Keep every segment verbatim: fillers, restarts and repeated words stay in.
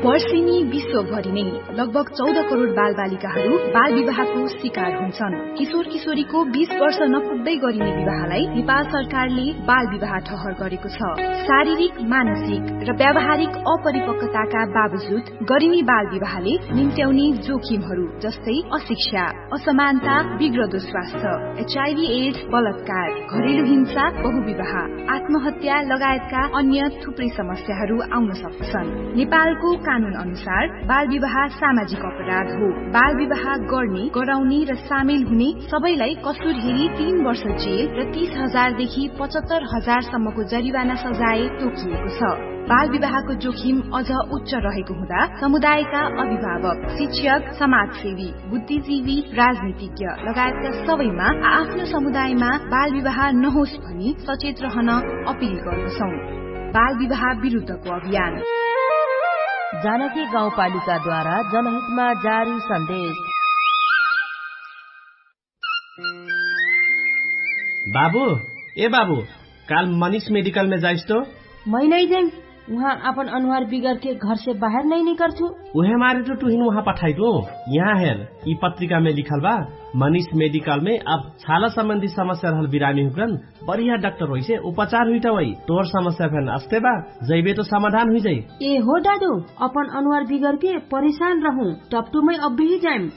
वर्षिनी विश्वभरि नै लगभग चौध करोड बालबालिकाहरू बालविवाहको शिकार हुन्छन्। किशोर किशोरीको बीस वर्ष नपुग्दै गरिने विवाहलाई नेपाल सरकारले बालविवाह ठहर गरेको छ। शारीरिक, मानसिक र व्यावहारिक अपरिपक्वताका बावजुद गरिने बालविवाहले निम्त्याउने जोखिमहरू जस्तै अशिक्षा, असमानता, बिग्रदो स्वास्थ्य, एचआइभी एड्स, बलात्कार, घरेलु हिंसा, बहुविवाह, आत्महत्या लगायतका अन्य थुप्रै समस्याहरू आउन सक्छन्। नेपालको कानुन अनुसार बालविवाह सामाजिक अपराध हो। बालविवाह गर्ने, गराउने र सामेल हुने सबैलाई कसुर हेरी तीन वर्ष जेल र तीस हजार देखि पचहत्तर हजार सम्मको जरिवाना सजाय तोकिएको छ। बालविवाहको जोखिम अझ उच्च रहेको हुँदा समुदायका अभिभावक, शिक्षक, समाजसेवी, बुद्धिजीवी, राजनीतिज्ञ लगायतका सबैमा आ आफ्नो समुदायमा बालविवाह नहोस् भनी सचेत रहन अपिल गर्दछौँ। बालविवाह विरुद्धको अभियान। जानकी गाउँपालिकाद्वारा जनहितमा जारी सन्देश। बाबु, ए बाबु, काल मनिष मेडिकलमे जाइस तो? मै नै जाइम। उहाँ आपन अनुहार बिगरके घरसे बाहेर नै निकर्छु। उहे मारे तो टुहिन उहाँ पठाइटु। यहाँ हेर, यि पत्रिकामे लिखल बा, मनिष मेडिकलमे अब छाला सम्बन्धी समस्या रहल बिरामी हुकरन बढिया डाक्टर होइसे उपचार हुइटा वइ। तोर समस्या फेन अस्ते बा, जैबे तो समाधान हुइजाइ। ए हो दादु, अपन अनुहार बिगरके परेशान रहु, टपटुमै अब्बेही जाइम।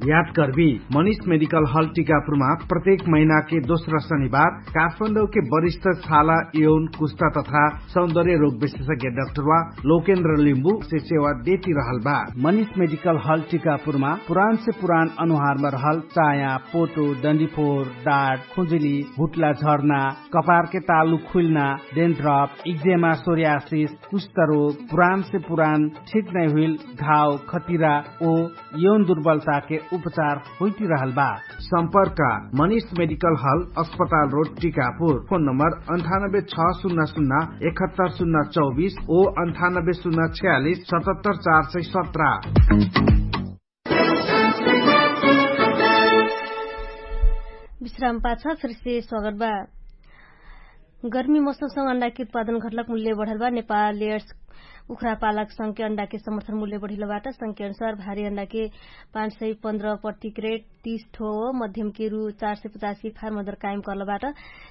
याद करबी, मनिष मेडिकल हल टिकापुरमा प्रत्येक महिनाके दोस्रा शनिबार काठमाडौके वरिष्ठ छाला, यौन, कुस्ता तथा सौन्दर्य रोग विशेषज्ञ डाक्टरवा लोकेन्द्र लिम्बु से सेवा देती रहल बा। मनिष मेडिकल हल टिकापुरमा पुरान से पुरान अनुहारमा रहल चाया, पोटो, डन्डीफोर, डाट, खुजुली, हुट्ला झर्ना, कपारके तालु खुल्ना, डेन्ड्रप, इक्जेमा, सोरियासिस, कुष्ठरोग, पुरान से पुरान ठिक नै हुइल घाव, खतिरा ओ यौन दुर्बलताके उपचार होइती रहल बा। सम्पर्क मनिष मेडिकल हल, अस्पताल रोड, टिकापुर। फोन नम्बर अन्ठानब्बे छ सुन्ना सुन्ना एकहत्तर सुन्ना चौबिस ओ अन्ठानब्बे सुन्ना छयालिस सतहत्तर चार सय सत्र। विश्राम पाछ फिरसे स्वागत बा। गर्मी मौसमसँग अण्डाके उत्पादन घटलक मूल्य बढल बा। नेपाल लेयर्स कुखुरा पालक संघके अण्डाके समर्थन मूल्य बढिलो बाट। संघके अनुसार भारी अण्डाके पाँच सय पन्ध्र प्रति क्रेट तीस ठो, मध्यमके रु चार सय पचासी फार्म अदर कायम कर्ल बाट।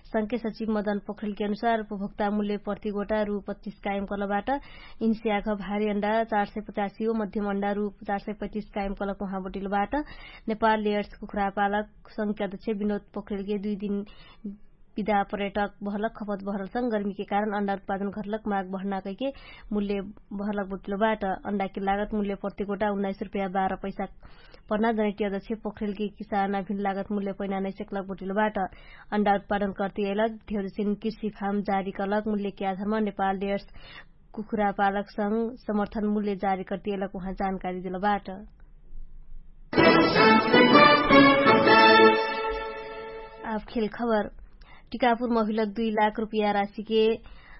संघके सचिव मदन पोखरेलके अनुसार उपभोक्ता मूल्य प्रति गोटा रु पच्चिस कायम कर्ल बाट। इन्स्याघ भारी अण्डा चार सय पचासी ओ मध्यम अण्डा रु चार सय पैतिस कायम कर्लक उहाँ बटिलो बाट। नेपाल लेयर्स कुखुरा पालक संघके अध्यक्ष विनोद पोखरेलके दुई दिन विदा पर्यटक बहलक खपत बहरलसँग गर्मीके कारण अण्डा उत्पादन घटलक माग बहना कैके मूल्य बहरलक बोटिलो बाट। अण्डाके लागत मूल्य प्रति गोटा उन्नाइस रुपैया बाह्र पैसा पर्ना जनैटी अध्यक्ष पोखरेलके किसान अभिन लागत मूल्य पैना नैसेकलक बोटिलो बाट। अण्डा उत्पादन कर्ती अइलक धेउजसिन कृषि फार्म जारी कलक मूल्यके आधारमा नेपाल डेयर्स कुखुरा पालकसँग समर्थन मूल्य जारी कर्ती अइलक उहाँ जानकारी दिलो बाट। आब खेल खबर। टिकापुर महिलक दुई लाख रुपिया राशिके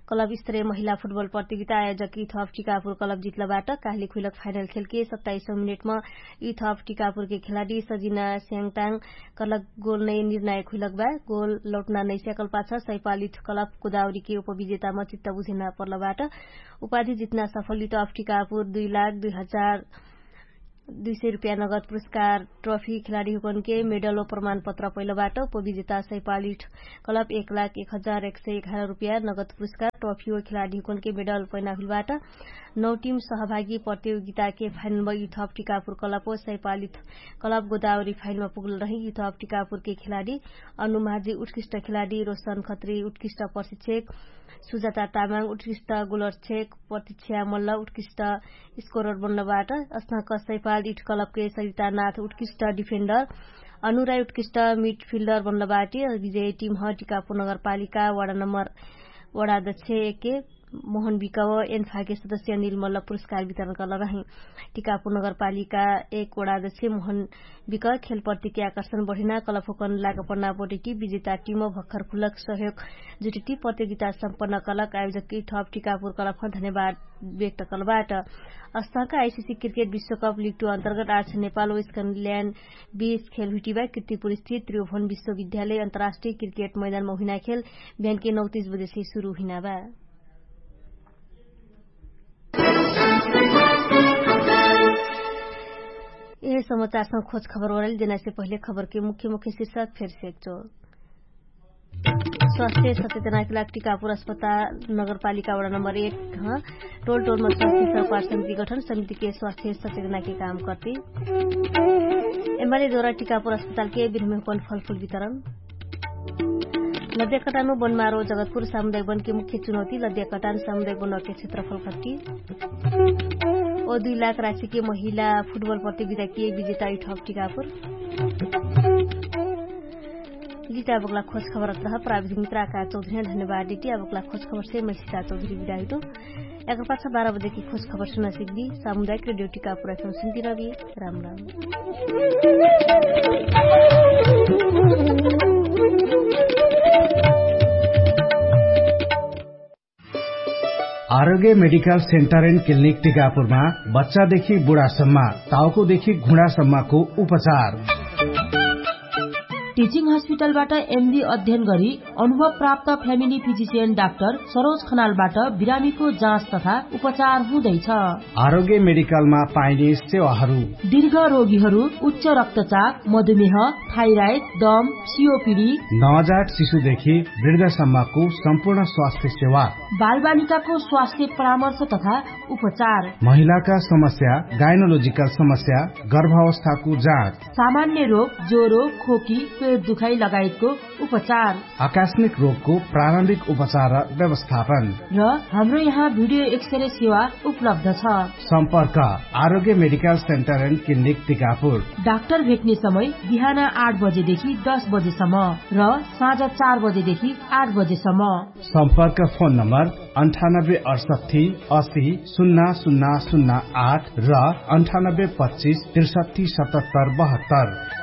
कलब स्तरे महिला फुटबल प्रतियोगिता आयोजक इथप टिकापुर कलब जितलबाट। काहली खुइलक फाइनल खेलके सत्ताइसौँ मिनेटमा इथप टिकापुरके खेलाडी सजिना स्याङटाङ कलक गोल नै निर्णायक हुइलक बा। गोल लौटना नै स्याकल पाछ सैपालित कलब गोदावरीके उपविजेतामा चित्त बुझेना पर्लबाट। उपाधि जितना सफल इथप टिकापुर दुई लाख दुई हजार दुई सय रुपिया नगद पुरस्कार ट्रफी खेलाडी हुकनके मेडल व प्रमाणपत्र पैलबाट। उपविजेता सैपालिठ कलब एक लाख एक हजार एक सय एघार रुपिया नगद पुरस्कार ट्रफी व खेलाडी हुकनके मेडल पैना हुइलबाट। नौ टिम सहभागी प्रतियोगिताके फाइनलमा युथप टिकापुर कलब व सैपालिठ कलब गोदावरी फाइनलमा पुगल रही। युथप टिकापुरके खेलाडी अनुमाझी उत्कृष्ट खेलाडी रोशन खत्री उत्कृष्ट प्रशिक्षक सुजाता तामाङ उत्कृष्ट गोलरक्षक प्रतीक्षा मल्ल उत्कृष्ट स्कोरर बन्नबाट। अस्नक सैपाल इठ कलबके सरितानाथ उत्कृष्ट डिफेन्डर अनुराई उत्कृष्ट मिडफिल्डर बन्नबाट। विजय टिम ह टिकापुर नगरपालिका वडा नम्बर वडा अध्यक्ष एके मोहन विकव एन्फाके सदस्य अनिल मल्ल पुरस्कार वितरण कलरही। टिकापुर नगरपालिका एक वडा अध्यक्ष मोहन विक खेलप्रतिके आकर्षण बढिना कलफोकन लागपन्ना बोटेटी विजेता टिम भक्खर खुलक सहयोग जुटेटी प्रतियोगिता सम्पन्न कलक आयोजक इठप टिकापुर कलफमा धन्यवाद व्यक्त कलबाट। अस्थाका आइसिसी क्रिकेट विश्वकप लिग टु अन्तर्गत आर्छ नेपाल वेस्कनल्यान्ड बीच खेल हुइटिबा किर्तिपुर स्थित त्रियोभन विश्वविद्यालय अन्तर्राष्ट्रिय क्रिकेट मैदानमा हुइना खेल बिहानके नौ तीस बजेसे सुरु हुइनाबा। समाचारसँग खोज खबर ओरैल देनासे पहिले खबरके मुख्य मुख्य शिर्षक फेरसे एकचो। स्वास्थ्य सचेतनाके लाग टिकापुर अस्पताल नगरपालिका वडा नम्बर एक ह टोल टोलमा स्वास्थ्य सरकार समिति गठन समितिके स्वास्थ्य सचेतनाके काम कर्ति। एमाले द्वारा टिकापुर अस्पतालके बिरमेहपन फलफुल वितरण। लद्याकटानु बनमारो जगतपुर सामुदायिक बनके मुख्य चुनौती लद्याकटान सामुदायिक बनके क्षेत्रफल खट्टी। ओ दुई लाख राशिके महिला फुटबल प्रतियोगिताके विजेता इठप टिकापुर। लिटा बगला खोज खबर अत्रह प्राविधिक मित्राका चौधरी धन्यवाद दिटी। आ बगला खोज खबरसे मैसिता चौधरी विदाहिटो। एकर पाछा बाह्र बजेकी खोज खबर सुना सिक्दी। सामुदायिक रेडियो टिकापुर एफएम सुन्ती रबी। राम राम। आरोग्य मेडिकल सेन्टर एन्ड क्लिनिक टिकापुरमा बच्चादेखि बुढासम्म, ताउकोदेखि घुँडासम्मको उपचार। टिचिङ हस्पिटलबाट एमडी अध्ययन गरी अनुभव प्राप्त फ्यामिली फिजिसियन डाक्टर सरोज खनालबाट बिरामीको जाँच तथा उपचार हुँदैछ। आरोग्य मेडिकलमा पाइने सेवाहरू। दीर्घ रोगीहरू उच्च रक्तचाप, मधुमेह, थाइराइड, दम, सिओपिडी, नवजात शिशुदेखि वृद्धसम्मको सम्पूर्ण स्वास्थ्य सेवा। बालबालिकाको स्वास्थ्य परामर्श तथा उपचार। महिलाका समस्या, गाइनोलोजिकल समस्या, गर्भावस्थाको जाँच। सामान्य रोग, ज्वरो, खोकी, पेट दुखाइ लगायतको उपचार। आकस्मिक रोगको प्रारम्भिक उपचार र व्यवस्थापन। र हाम्रो यहाँ भिडियो एक्सरे सेवा उपलब्ध छ। सम्पर्क Arogya medical centre and clinic Tikapur. Doctor भेट्ने समय बिहान आठ बजेदेखि दस बजेसम्म र साँझ चार बजेदेखि आठ बजेसम्म। सम्पर्क फोन नम्बर अन्ठानब्बे अडसट्ठी असी सुन्ना सुन्ना सुन्ना आठ र अन्ठानब्बे पच्चिस त्रिसट्ठी सतहत्तर बहत्तर।